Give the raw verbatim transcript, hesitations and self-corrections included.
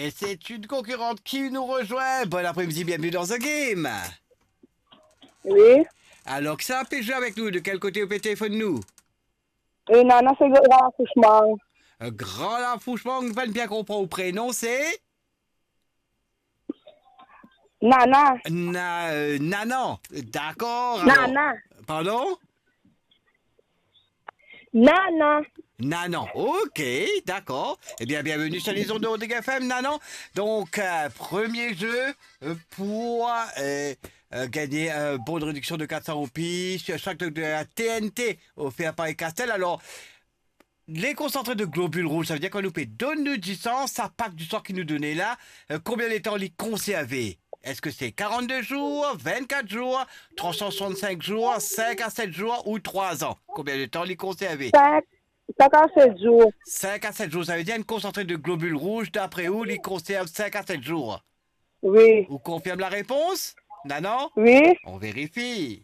Et c'est une concurrente qui nous rejoint. Bon après-midi, bienvenue dans The Game. Wi. Alor, kisannla pe zwe avek nou? De kel kote ou pe telefonn nou? E, Nana, se Gran Lafouchemang. Euh, Gran Lafouchemang, nou pa bien konpran ou prenon, se? Nana. Na-, euh, Nanan. Dakor, alor. Nana. Pardon? Nana. Nanan, ok, dakor. Ebien, bienvenue sur les ondes de Rodrigue F M, Nanan. Donc, euh, premier jeu, euh, pour, euh, euh, gagner un bon de réduction de quatre cents roupies sur chaque de la T N T offert par Castel. Alors, les concentrés de globules rouges, ça veut dire kan nou pe donn nou disan, sa pak disan ki nou done la, euh, combien de temps li konserve? Est-ce que c'est quarante-deux jours, vingt-quatre jours, trois cent soixante-cinq jours, cinq à sept jours ou trois ans? Combien de temps li konserve? Cinq, cinq à sept jours. Cinq à sept jours, ça veut dire une concentrée de globules rouges, d'après ou, li konserve cinq à sept jours. Wi. Ou confirme la réponse? Nanan? Wi. On vérifie.